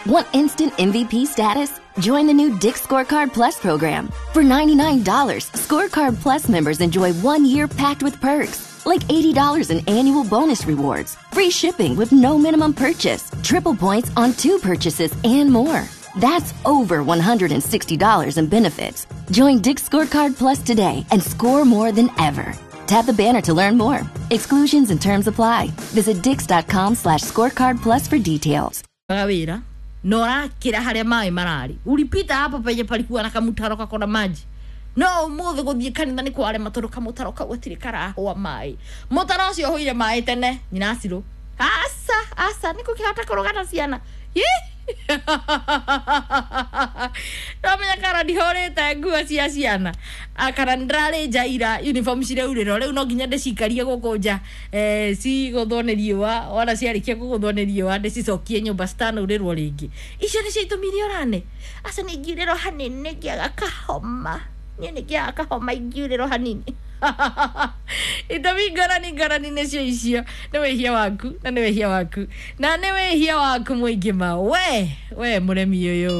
Want instant MVP status? Join the new Dick's Scorecard Plus program. For $99, Scorecard Plus members enjoy 1 year packed with perks, like $80 in annual bonus rewards, free shipping with no minimum purchase, triple points on two purchases, and more. That's over $160 in benefits. Join Dick's Scorecard Plus today and score more than ever. Tap the banner to learn more. Exclusions and terms apply. Visit dix.com/scorecard plus for details. Wira na ũrakĩra harĩa maĩ mararĩ, ulipita hapo penye palikuwa na kamutaro kakona maji. No ũmũthĩ gũthiĩ kanitha nĩ kwarema tondũ kamũtaro kau gatirĩ karahũa maĩ. Mũtaro ũcio ũhũire maĩ tene nyina acirũ. Aca, aca, nĩ kũkĩhota kũrũgana ciana. Ndamenya kana ndihũrĩte nguo cia ciana, kana nĩ nja ira uniform cireurĩrwo. Rĩu no nginya ndĩcikarie gũkũ nja, cigũthwo nĩ riũa. Wona ciarĩkia kũgũthwo nĩ riũa, ndĩcicokie nyũmba citanaurĩrwo rĩngĩ. Icio nĩcio itũmi iria ũrane. Aca, nĩ ingiurĩrwo hanini nĩ ngĩaga kahoma. Niĩ nĩ ngĩaga kahoma ingiurĩrwo hanini. Itũmi ngorani ngorani nĩcio icio. Nĩ wĩhia waku, na nĩ wĩhia waku, na nĩ wĩhia waku mũingĩ ma we mũremi ũyũ.